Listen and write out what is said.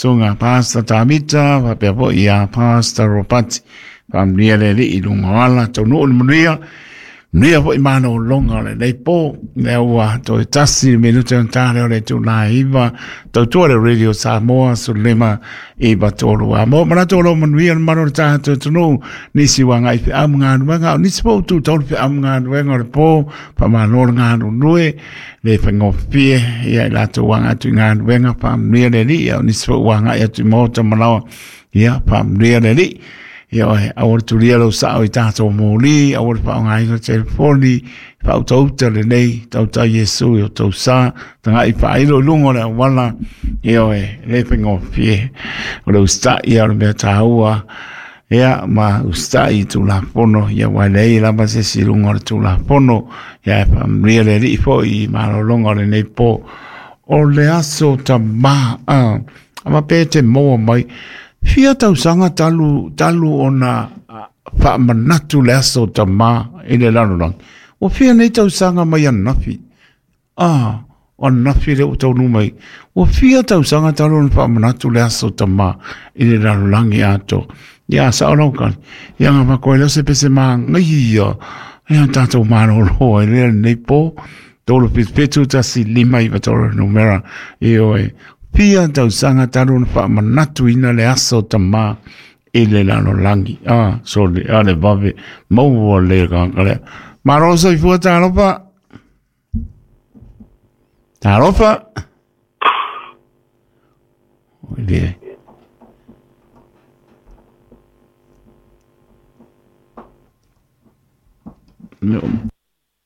Susuga Pastor Tamita faapea foi ia Pastor Ropati. Faamanuia le Alii i luga o ala, taunuu le manuia, manuia foi malologa o lenei po. Lea ua toe tasi le minute ona ta lea o le itula e 9, tautua le Radio Samoa 15 9 3. A mo manatu o lo manuia le mamalu o le tatou atunuu, nisi ua agai i feau ma galuega, o nisi foi ua tu tau le feau ma galuega o le po, faamalo le galulue, le faigofie ia i latou ua agai atu i galuega, faamanuia le Alii, a o nisi foi ua agai atu i maota ma laoa, ia faamanuia le Alii. Ia oe, aua le tulia lou sao i tatou moli, aua le faaaogaina telefoni, faautauta lenei, tautai Iesu i o tou sa, tagai faailo i luga o le auala, ia oe, le faigofie, o le usitai ia o le mea taua, ia ma usitai i Tulafono, ia aua e leai lava se isi i luga o le Tulafono, ia e faamanuia le Alii foi i malologa o lenei po. O le aso tamā, a pe te maua mai, fia tausaga talu, talu ona faamanatu le aso tamā i le lalolagi. Ua fia nei tausaga mai ananafi. Ah, o ananafi lea ua taunuu mai. Ua fia tausaga talu ona faamanatu le aso tamā i le lalolagi atoa. Ia, sao lau kali. Ia, ngā whakoe leo se pese māngai ia. Ia, tātou malolo ai lea lenei pō. 3 7 1 5 9 3 numera. Ioe. Fia tausaga talu ona faamanatuina le aso tamā i le lalolagi. Ah, sorry, a le vave, maua le kaka lea. Malo soifua talofa. Talofa. Oi le. No.